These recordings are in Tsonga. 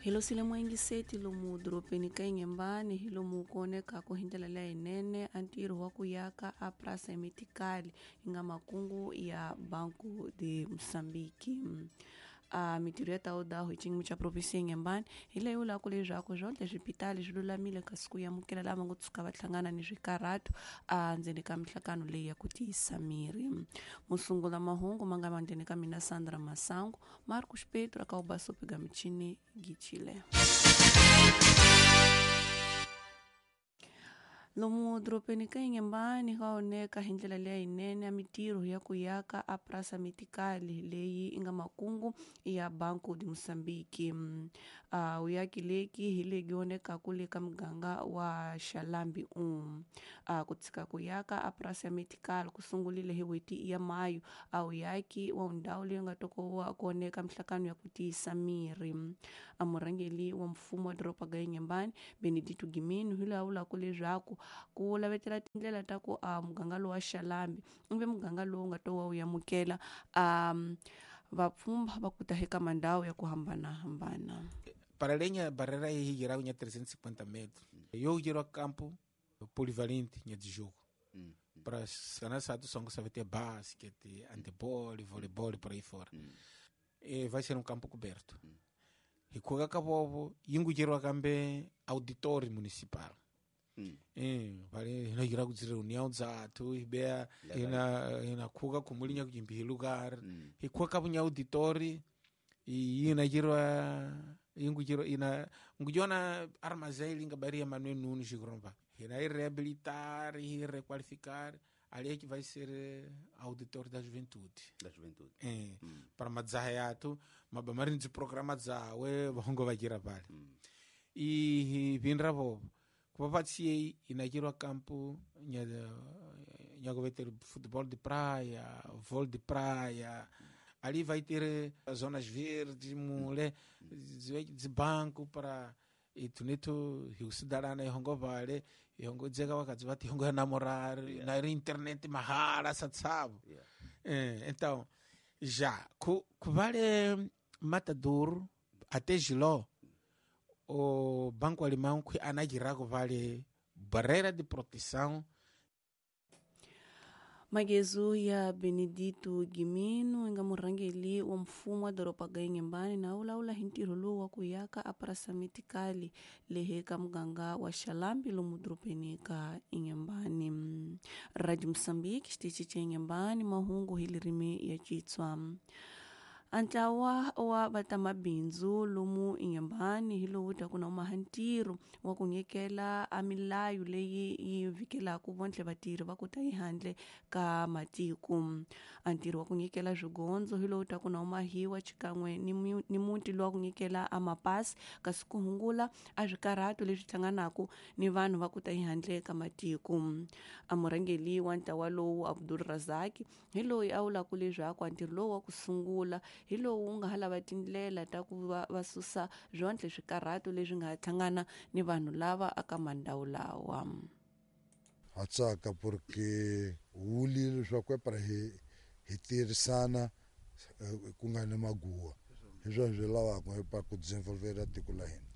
Hi losile muengiseti lomu dorobeni ka Inhambane hi lomu ku onekaku hi ndlela leyinene a ntirho wa ku yaka a Praça Metikali yi nga makungu ya Banco de Moçambique. A mitirho ya tawudaho hi xiyimo xa provinsi ya Inhambane hi leyi vulaka leswaku swonhle swipitali swi lulamile kasi ku amukela lava ngo tshuka va hlangana ni swikarhato a ndzeni ka mihlangano leyi ya ku tiyisa miri. Musungula mahungu ma nga mandleni ka mina Sandra Masangu, Marcos Pedro akaubasopiga michini Gichile. Lomu dorobeni ka Inhambane ka oneka hi ndlela leyinene ya mitirho ya ku yaka a Praça Metikali leyi yi nga makungu ya Banco de Moçambique. A vuyaki leki hi lebyi onekaku le ka muganga wa Xalambi 1. A ku tshika ku yaka a Praça Metikali ku sungurile hi n'hweti ya Mayu a vuyaki wa ndhawu leyi nga tokowa ku oneka mihlangano ya ku tiyisa miri. A murhangeri wa mfumo wa doroba ga Inhambane Benedito Gimino hi loyi a vulaka leswaku ku lavetela tindlela ta ku a muganga lowu wa Xalambi ivi muganga lowu nga to wa wu amukela a vapfhumba va ku ta eka mandhawu ya ku hambanahambana. Para além barreira aí geral tinha 350 metros. Eu giro a campo polivalente tinha de jogo. Para sana sato só sabe ter basquete, handebol, voleibol por aí fora. E vai ser um campo coberto. E kuga kabobo yingu giro kambe auditório municipal. Vale ina gira kuti reunião dzathu ibea ina ina kuga kumulinya kujimbi lugar. Ikuwa kabunya auditório ina girwa ingu giro ina ngujona armazém linga baria Manuel Nunes Gromba. Ina ir reabilitar e requalificar ali é que vai ser auditor da juventude. Da juventude. É, para madzahayato, mabamarin de programa dzawe vahongo vagira pale. E vinra vovo. Kupapatsiei inakirwa campo nya nyagoveter futebol de praia, vôlei de praia. Ali vai ter zonas verdes, mule, de banco para e tunito hiusidarana ihongo vale, ihongo dzeka wakadzi vati ihongo namorar, na internet mahala satsavo. Então, já, ku vale Matador até Giló, o Banco Alemão que anagirá vale barreira de proteção. Magezu ya Benedito Gimino nga murhangeri wa mfumo wa doroba ga Inhambane na vulavula hi ntirho lowu wa ku yaka a Praça Metikali lehe ka muganga wa Xalambi lomu dorobeni ka Inhambane. Radio Moçambique xitichi xa Inhambane mahungu hi ririmi ya Xitswa. A ntlawa wa vatamabindzu lomu Inhambane hi lowu taku na umaha ntirho wa ku nyikela a milayo leyi yi vhikelaka vonhle vatirhi va ku ta ehandle ka matiko. A ntirho wa ku nyikela swigondzo hi lowu taku na umahiwa xikan'we ni muti lowa ku nyikela a mapasi kasi ku hungula a swikarhato leswi hlanganaka ni vanhu va ku ta ehandle ka matiko. A murhangeri wa ntlawa lowu Abdul Razak hi loyi a vulaka leswaku a ntirho lowu wa ku sungula hi lowu wu nga ha lava tindlela ta ku va susa swonhle swikarhato leswi nga hlangana ni vanhu lava aka mandhawu lawa. Ha tsaka porque wuli leswaku para hi tirhisana ku nga ni maguwa hi swona swi lavaka pa ku desenvolver tiko la hina.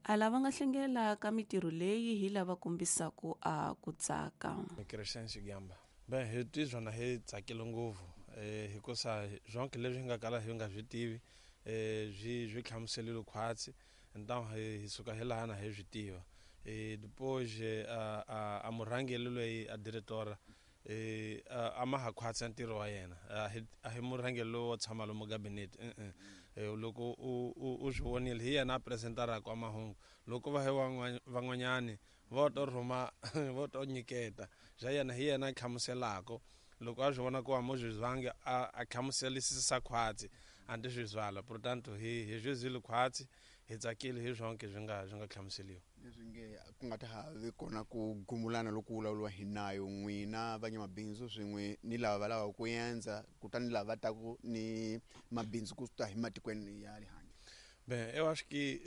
A lava nga hlengela ka mitirho leyi hi lava kombisaka a ku tsaka. Crescêncio Gamba. Bem, hi twi swona hi tsakile ngopfu hikusa zonke leswi hi nga kala hi nga swi tivi swi hlamuseliwe khwatsi então hi suka hi laha na hi swi tiva. Depois a murhangeri loyi a diretora a ma ha khwatsi ntirho wa yena a hi murhangeri lowu wo tshama lomu gabinete loko u swi vonile hi yena a presentaraka a mahungu loko va hi van'wanyani vo to rhuma vo to nyiketa bya yena hi yena a hlamuselaka loko a swi vona ku a mo swi zwangi a hlamuselisisa khwatsi a ndi swi zwala portanto hi swi zwile khwatsi hi tsakile hi swonke swi nga hlamuseliwa leswi nge ku nga ta ha vi kona ku gumulana loko vulavuriwa hi nayo n'wina vanyamabindzu swin'we ni lava va lavaka ku endza kutani lava va taku ni mabindzu ku ta hi matikweni ya le handle. Bem, eu acho que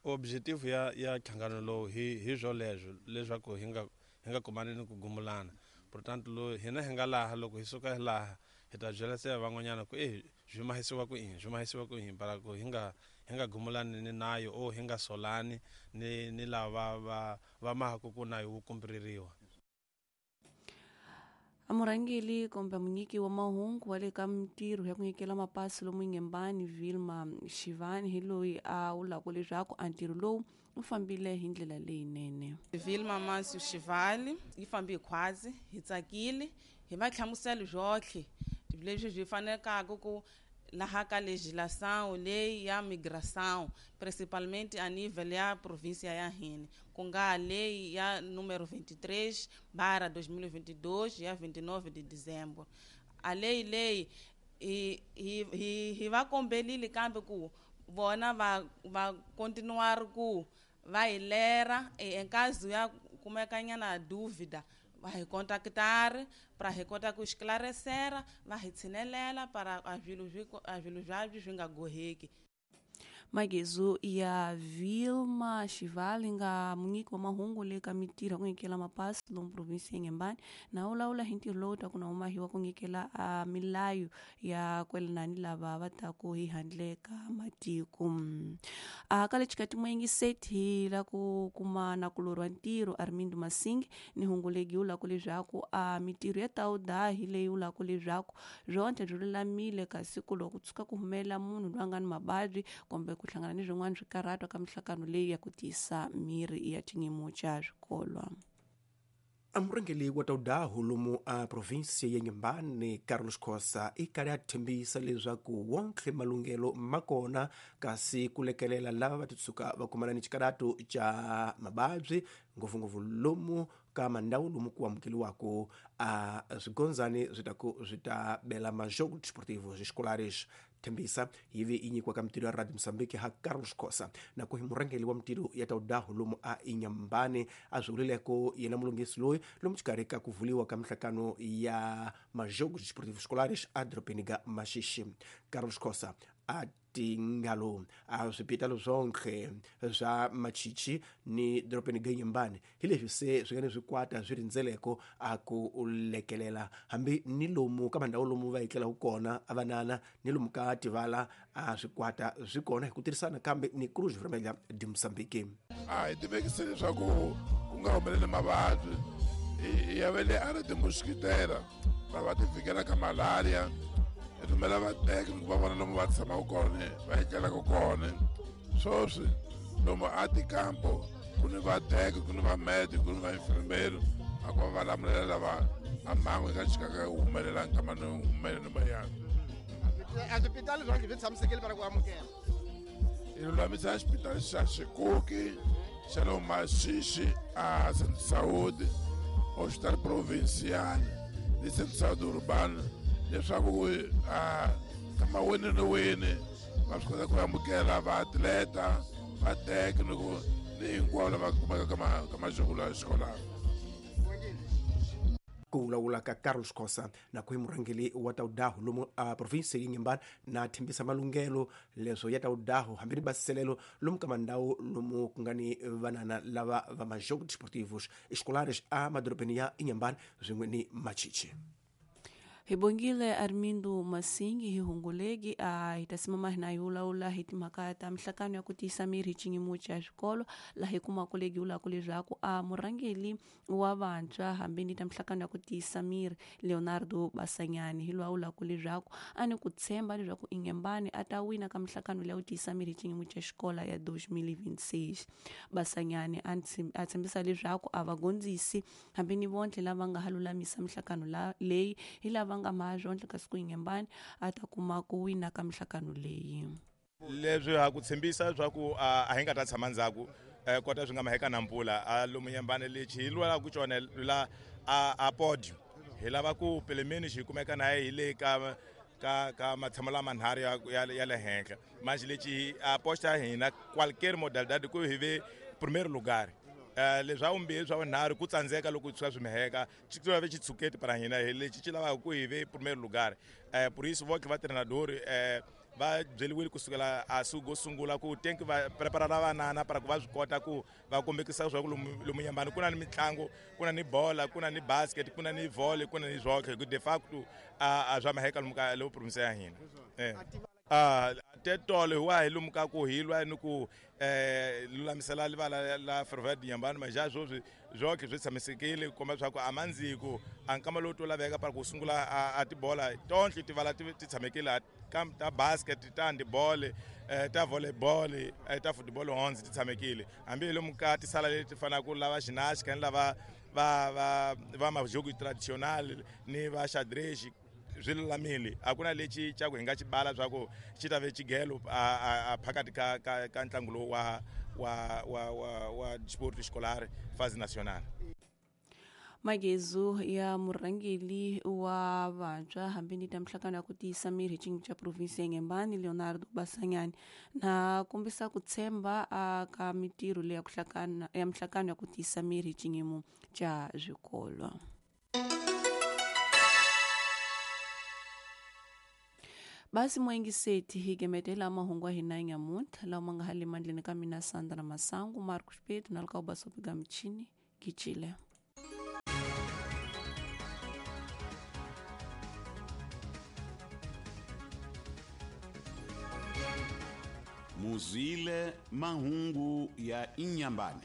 o objetivo ya nhlangano lowu hi swoleswo leswaku hi nga kumani ni ku gumulana. Portanto, hina hi nga laha loko hi suka laha Hi ta byela se van'wanyana ku swi mahisiwa ku yini, swi mahisiwa ku yini, para ku hi nga gumulani ni nayo o hi nga solani ni lava va mahaku ku nayo wu kumbiririwa. Amurhangeli kumbe munyiki wa mahungu wa le ka mintirho ya ku nyikela mapasi lomu Inhambane Vilma Xivani hi loyi a vulaka leswaku a ntirho lowu wu fambile hi ndlela leyinene. Vilma Mansu Xivali yi fambe hi khwazi, hi tsakile, hi va hlamusela byotlhe leswi byi fanelaka ku laha ka legislação leyi ya migração, principalmente a nível ya província ya hina, ku nga lei ya número 23/2022 ya 29 de dezembro. A lei leyi hi va kombelile kambe ku vona va continuar ku va hi lera em caso ya kumekanyana dúvida va hi contactar para hi kota ku esclarecer, va hi tshinelela para a swilo swabyo swi nga goheki. Magezo ya Vilma Xivali nga munyiki wa mahungu le ka mintirho ku nyikela mapasi lomu provinsi ya Inhambane na vulavula hi ntirho lowu ta ku na humahiwa ku nyikela a milayo ya kwelana ni lava va taku hi handle ka matiko. A ka le xikati muyingiseti hi la ku kuma na ku lorwa ntirho Armindo Masingi ni hungu legi wu laku leswaku a mintirho ya tawuda hi leyi wu laku leswaku byontlhe byi lulamile kasi ku loko tshuka ku humelela munhu loyi a nga ni mavabyi kumbe ku hlangana ni swin'wana swikarhato ka mihlangano leyi ya ku tiyisa miri ya xiyimo xa swikolo. Amurhangeli wa tawudahu lomu a provinsia ya Inhambane Carlos Khosa i karhi a tshembisa leswaku wonke malunghelo ma kona kasi ku lekelela lava va titshuka va kumana ni xikarato xa mavabyi ngopfungopfu lomu ka mandhawu lomu ku amukeliwaka a swigondzani swi ta ku swi ta bela majogo desportivos escolares. Thembisa yi ve yi nyikiwa ka mintirho ya Radio Mozambique ha Carlos Khosa na ku hi murhangeli wa mintirho ya tawudahu lomu a Inhambane a swi vulileko yena mulunghisi loyi lomu xikarhi ka ku vuliwa ka mihlangano ya majogos desportivos escolares a dorobeni ga Maxixi. Carlos Khosa a tingalo a swipitalo swonke swa Machichi ni dorobeni ga Inhambane hi leswi se swi nga ni swikwata swi rindzeleko a ku lekelela hambi ni lomu ka mandhawu lomu va etlelaka kona a vanana ni lomu ka tivala a swikwata swi kona hi ku tirhisana kambe ni Cruz Vermelha de Mozambique. A hi tivekise leswaku ku nga humeleli mavabyi ya ve le a ri timuskitela va ti fikela ka malaria, hi rhumela vateki ku va vona lomu va tshamaka kona va etlelaka kona. Sweswi lomu a tikampo ku ni vateki, ku ni vamedi, ku ni vainfirmeri a ku va va lamulela lava a mhangu yi nga chikaka yi humelela nkama ni humeleni mayani. A swipitali swonke swi tshamisekile para ku amukela. Hi lulamisa xipitali xa Xikuki xa le Maxixi a Centro Saúde, Hospital Provincial ni Centro Saúde Urbano leswaku kama wini ni wini va swi kota ku amukela vaatleta, vateki ni ku ni hinkwavo lava kumekaka ka majoko la xikolano. Ku vulavula ka Carlos Khosa na ku hi murhangeli wa tawudahu lomu a provinsi ya Inhambane na thembisa malunghelo leswo ya tawudahu hambi ni basiselelo lomu ka mandhawu lomu ku nga ni vanana lava va majogos desportivos escolares a madorobeni ya Inhambane swin'we ni Machichi. Hi bongile Armindo Masingi hi hungulegi a hi ta simama hina hi vulavula hi timhaka ta mihlangano ya ku tiyisa miri hi xiyimo xa swikolo laha hi kumaka legi vulaka leswaku a murhangeli wa vantshwa hambi ni ta mihlangano ya ku tiyisa miri Leonardo Basanyani hi loyi a vulaka leswaku a ni ku tshemba leswaku Inhambane a ta wina ka mihlangano leyi ya ku tiyisa miri hi xiyimo xa xikolo ya 2026. Basanyani a tshembisa leswaku a va gondzisi hambi ni vontlhe lava nga ha lulamisa mihlangano leyi hi lava nga mahazwontle kasi ku Inhambane a ta kuma ku wina ka mihlangano leyi. Leswi ha ku tshembisa leswaku a hi nga ta tshama ndzhaku kota swi nga maheka na mpfula a lomu Inhambane lexi hi lwelaka xona la a podium hi lava ku pelemeni xi kumeka na hi le ka ka matshamo lama nharhu ya le henhla manje lexi a posta hina qualquer modalidade ku hi ve primeiro lugar. Leswa vumbirhi swa vunharhu ku tsandzeka loko swi swi miheka xi ve xitshuketi para hina hi lexi xi lavaka ku hi ve primeiro lugar. Por isso voke va treinador Va byeliwile kusukela a suku sungula ku tenki va prepara vanana para ku va swi kota ku va kombekisa swa ku lomu Nyambani ku na ni mitlangu, ku na ni bola, ku na ni basket, ku na ni volley, ku na ni zwoke ku de facto a swa maheka lomu ka lo province ya hina. Tetolo hi wa hi lomu ka ku hi lwa ni ku lulamisela livala la Ferroviária de Inhambane, mas já sweswi zwoke swi tshamisekile ku komba leswaku a mandziko a nkama lowu to laveka para ku sungula a tibola tonhle tivala ti tshamekile ta basket, ta handball, ta volleyball, ta football honzi ti tshamekile. Hambi lomu ka tisala leti fanaka lava ginástica ni lava va majogo tradicional ni va xadrez swi lulamile. A ku na lexi xa ku hi nga xi bala swa ku xi ta ve xigelo a phakathi ka ntlangu lowu wa sport escolar fase nacional. Magezu ya murhangeri wa vantshwa hambi ni ta mihlangano ya ku tiyisa miri hi xiyimo xa province ya Inhambane Leonardo Basanyani na kombisa ku tshemba ka mitirho leyi ya mihlangano ya ku tiyisa miri hi xiyimo xa swikolo. Basi mwengiseti hi gemetela mahungu ya hina nyamuntlha lawa ma nga hali mandleni ka mina Sandra Masangu, Marcos Pedro na lka basopiga michini kichile. Muzile mahungu ya Inhambane.